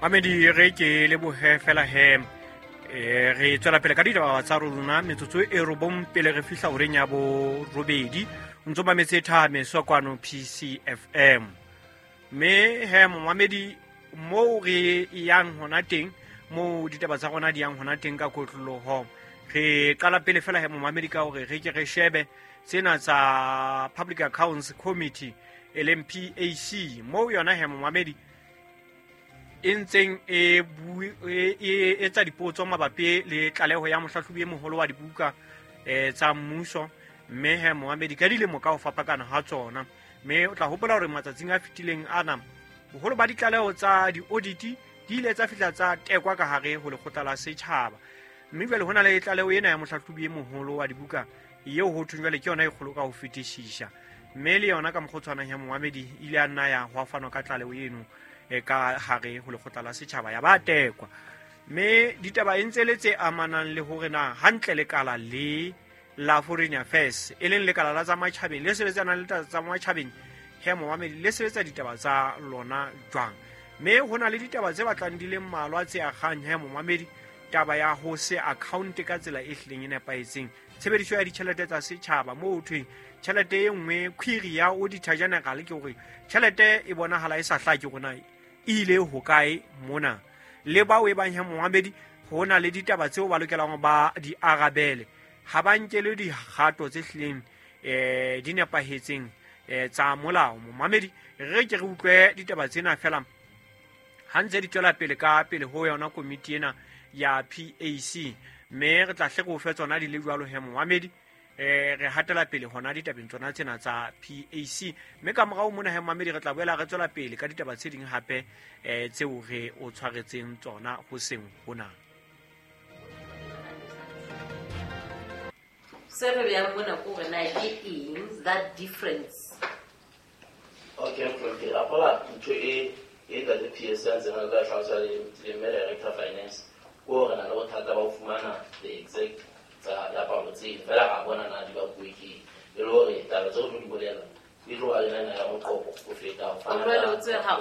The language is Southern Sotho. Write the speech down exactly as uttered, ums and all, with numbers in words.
Mamedi, re ke lebohe fela he eh, re tswela pele ka ditaba tsa rona metsotso e robong pele re fihla horeng ya borobedi. O ntso mametse Thameso kwano P C F M. Mme he, momamedi, moo re yang hona teng, moo ditaba tsa rona di yang hona teng ka kotloloho, re qala pele fela he, momamedi, ka hore re ke re shebe tsena tsa Public Accounts Committee, e leng P A C, moo yona he, momamedi, e ntseng e bui- e e etsa dipotso mabapi le tlaleho ya mohlahlobi e moholo wa dibuka eh, tsa mmuso. Mme he, momamedi, ka dilemo ka ho fapakana ha tsona, mme o tla hopola hore matsatsing a fetileng ana boholo ba ditlaleho tsa di-audit di ile tsa fihla tsa tekwa ka hare ho lekgotla la setjhaba. Mme jwale ho na le tlaleho ena ya mohlahlobi e moholo wa dibuka eo ho thweng jwale ke yona e kgolo ka ho fetisisa. Mme le yona ka mokgwa o tshwanang ya momamedi ile a nna ya ho fanwa ka tlaleho eno e ka hare ho lekgotla la setjhaba, ya ba tekwa. Mme ditaba e ntse le tse amanang le hore na hantle lekala le la Foreign Affairs, e leng lekala la tsa matjhabeng le sebetsanang le taba tsa matjhabeng he, momamedi, le sebetsa ditaba tsa lona jwang. Mme ho na le ditaba tse batlang di le mmalwa tse akgang he, momamedi, taba ya ho se account ka tsela e hlileng e nepahetseng tshebediso ya ditjhelete tsa setjhaba, moo ho thweng tjhelete e nngwe, query ya Auditor General ke hore tjhelete e bonahala e sa hlake hore e ile hokae mona. Le bao e bang he, momamedi, ho na le ditaba tseo ba lokelang ba di arabele, ha ba nkele dikgato tse hlileng um di nepahetseng um tsa molao. Momamedi, re ke re utlwe ditaba tsena fela ha ntse di tswela pele ka pele ho yona komiti ena ya P A C, mme re tla hle re o fe tsona di le jwalo he, momamedi. eh re hatela pele hona ditabeng tsona tsena tsa P A C, mme ka morao mona he, momamedi, re tla boela re tswela pele ka ditaba tse ding hape eh tseo re o tshwaretseng tsona hoseng hona. Se re beyang mona ko hore na ke eng that difference. Okay, okay. Apola ntho e e ka le P S a ntseng a ka tlhalosa le le mme director finance ko re na le bothata ba ho fumana the exact tsa diaparo tseno, fela ra bona na di bakuwe ke eng. E le hore taba tseo tlo di bolela e tlo ba le nana ya moqoqo ho feta ho fana jwale ka- o tsebe ha